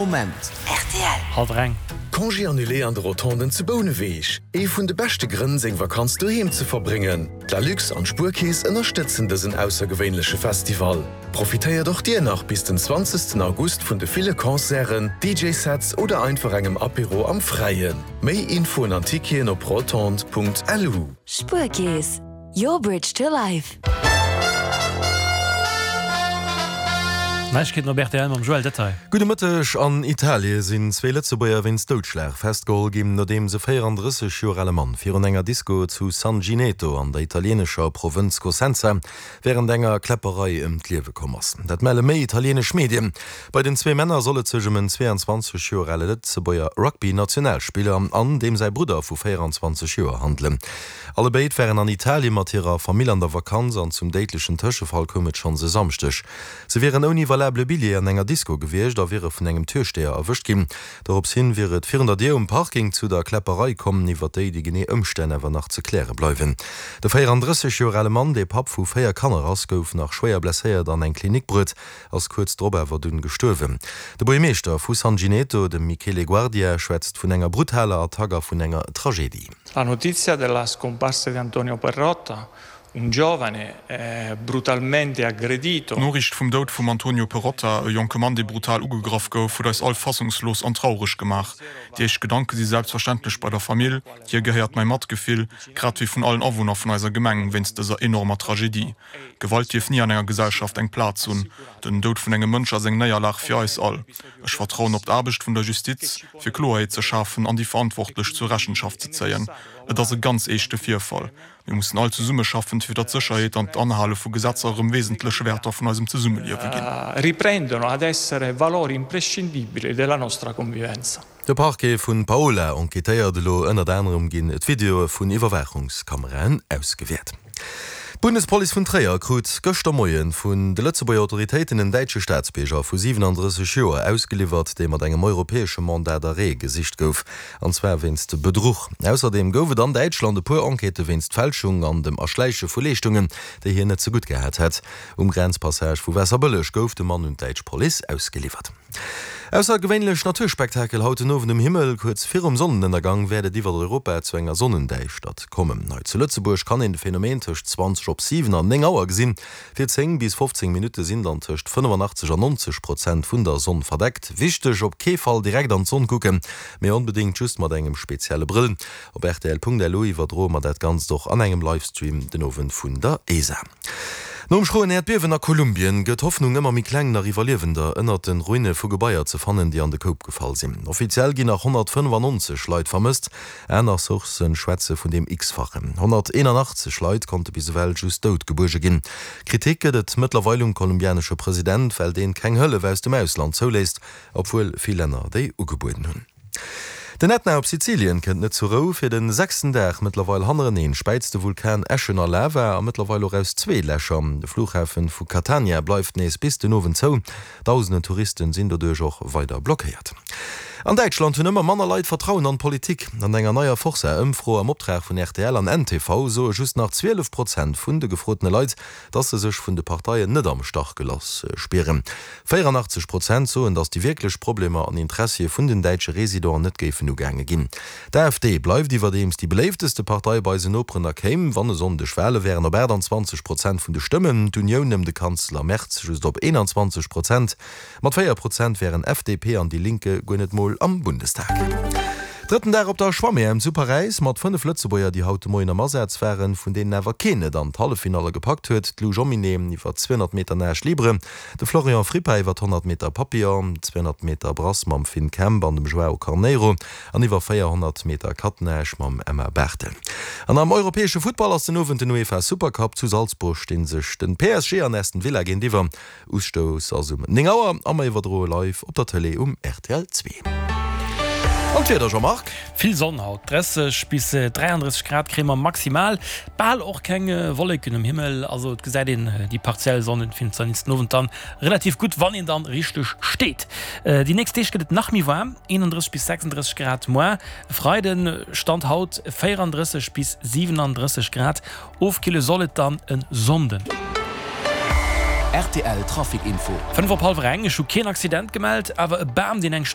Moment. Rtl. Hallwer eng. Congé annulé an de Rotonden zu Bouneweg, Ee vun de beschte Grënn seng Vakanz doheem ze verbréngen. D'Lalux an d'Spuerkeess ënnerstëtzen dësen aussergewéinleche Festival. Profitéiert och dir nach bis den 20 August vun de ville Concerten, DJ-Sets oder einfach engem Apéro am Fräien. Méi Infoen an Ticketen op rotondes.lu. Spuerkeess, your bridge to life. Neiegkeeten op rtl mam Joël Detail. Gudde Mëtteg. An Italie sinn zwee Lëtzebuerger wéinst Doudschlag festgeholl ginn, nodeems e 34 Joer ale Mann virun enger Disko zu San Gineto an der italieenescher Provënz Cosenza wärend enger Kläpperei ëm d'Liewe komm ass. Dat melle méi italieenesch Medien. Bei den zwee Männer soll et sech ëm en 22 Joer ale Lëtzebuerger Rugby-Nationalspiller an deem säi Brudder vu 24 Joer handelen. Allebéid waren an Italien mat hirer Famill an der Vakanz an zum déidlechen Tëschefall koum et schonns e Samschdeg. Se wieren ouni valabele Billjee an enger Disco gewiescht a wiere vun engem Türsteher erwëscht ginn. Dorops hin wier et virun der Dier um Parking zu der Kläpperei komm, iwwer déi déi genee Ëmstänn awer nach ze kläre bleiwen. De 34 Joer ale Mann, dee Papp vu 4 Kanner ass, gouf nach schwéier blesséiert an eng Klinik bruet. ass kuerz drop awer dunn gestuerwen. De Buergermeeschter vu San Gineto, de Michele Guardia, schwätzt vun enger brutaler Attack a vun enger Tragedie. La notizia della scomparsa di Antonio Perrotta, un giovane brutalmente aggredito. D'Noriicht vum Doud vum Antonio Perrotta, e jonke Mann, dee brutal ugegraff gouf, huet eis all fassungslos an traureg gemaach. Déi éischt Gedanke si selbstverständlech bei der Famill, hir gehéiert mäi Matgefill, grad wéi vun allen Awunner vun eiser Gemeng wéinst dëser enormer Tragedie. Gewalt dierf ni an enger Gesellschaft eng Plaz hunn. Den Doud vun engem Mënsch ass eng Néierlag fir eis all. Ech vertrauen op d'Aarbecht vun der Justiz, fir Kloerheet ze schafen an déi Verantwortlech zur Rechenschaft ze zéien. Et ass e ganz eeschte Virfall. Mir mussen all zesummeschaffen, fir datt d'Sécherheet an d'Anhale vu Gesetzer erëm wesentlech Wäerter vun eisem Zesummeliewe ginn. Riprendono ad essere valori imprescindibili della nostra convivenza. De Parquet vun Paola enquêtéiert elo. Ënnert anerem ginn d'Videoe vun Iwwerwaachungskameraen ausgewäert. D'Bundespolice vun Tréier krut gëschter Moie vun de Lëtzebuerger Autoritéiten en däitsche Staatsbierger vu 37 Joer ausgeliwwert, dee mat engem europäesche Mandat d'arrêt gesicht gouf, an zwar wéinst Bedruch. Ausserdeem gouf et an Däitschland e puer Enquêtë wéinst Fälschung an dem Erschläiche vu Leeschtungen, déi hien net zegutt gehat hätt. Um Grenzpassage vu Waasserbëlleg gouf de Mann un d'däitsch Police ausgeliwwert. Aussergewéinlech Naturspektakel haut den Owend um Himmel. Kuerz virum Sonnenënnergang wäert et iwwert Europa zu enger Sonnendäischtert kommen. Hei zu Lëtzebuerg kann een de Phänomen tëscht 20 op 7 an 9 Auer gesinn. Fir 10 bis 15 Minutte sinn dann tëscht 85 an 90 Prozent vun der Sonn verdeckt. Wichteg, Op kee Fall direkt an d'Sonn kucken, mee onbedéngt just mat engem spezielle Brëll. Op rtl.lu iwwerdroe mer dat Ganzt och an engem Livestream den Owend vun der ESA. Nom schroen Äerdbiewen a Kolumbien gëtt d'Hoffnung ëmmer méi kleng, nach Iwwerliewender ënnert de Ruine vu Gebaier ze fannen, déi an de Koup gefall sinn. Offiziell ginn nach 195 Leit vermësst, aner Sourcë schwätze vun deem X-fachen. 181 Leit konnte bis ewell just dout gebuerge ginn. Kritik gëtt et mëttlerweil um kolumbianesche President, well deen keng Hëllef aus dem Ausland zouléisst, obwuel vill Länner déi ugebueden hunn. Den Ätna op Sizilien kënnt net zur Rou. Fir de sechsten Dag mëttlerweil hannereneen späizt de Vulkan Äschen a Lava a mëttlerweil och aus zwee Lächer. De Flughafen vu Catania bleift nees bis den Owend zou. Dausenden Touristen sinn doduerch och weider blockéiert. An Däitschland hunn ëmmer manner Leit Vertrauen an d'Politik. An enger neier Forsa-Ëmfro am Optrag vun rtl an ntv soe just nach 12 Prozent vun de gefrotene Leit, dass se sech vun de Parteien net am Stach geloss spieren. 84 Prozent soen, datt déi wierklech Problemer an Interessie vun den däitsche Residenten net géifen ugaange ginn. D'AfD bleift iwwerdeems déi beléifteste Partei bei eisen Noperen a kéim, wann e Sonndeg Wale wären, op 28 Prozent vun de Stëmmen, d'Unioun ëm de Kanzler Merz just op 21 Prozent. Mat 4 Prozent wären FDP an Die Linke guer net mol am Bundestag. Drëtten Dag op der Schwamm-EM zu Paräis mat 5 Lëtzebuerger, déi haut de Moien am Asaz waren, vun deenen awer keen et an d'Halleffinalle gepackt huet, d'Lou Jomminet iwwer 200 Meter Nage libre, De Florian Frippa iwwer 100 Meter Papillon, 200 Meter Brass mam Finn Kemp an dem Joao Carneiro an iwwer 400 Meter Catenage mam Emma Barthel. An am europäesche Futtball ass den Owend den UEFA Supercup. Zu Salzburg stinn sech den PSG an Aston Villa géintiwwer. Ustouss ass um 9 Auer a mer iwwerdroe live op der Tëlee um rtl 2. An d'Wieder, Jean-Marc? Vill Sonn haut, 30 bis 33 Grad kréie mer maximal, bal och keng Wolleken um Himmel, also et gesäit een déi partiell Sonnenfinsternis den Owend dann relativ gutt, wann een dann richteg steet. Déi nächst Deeg gëtt et nach méi waarm, 31 bis 36 Grad moar, e Freiden, Stand haut 34 bis 37 Grad, ofkille soll et dann e Sonnden. Rtl Trafic Info. 5 op hallwer eng, ech hu keen Accident gemellt, awer e Bam deen eng.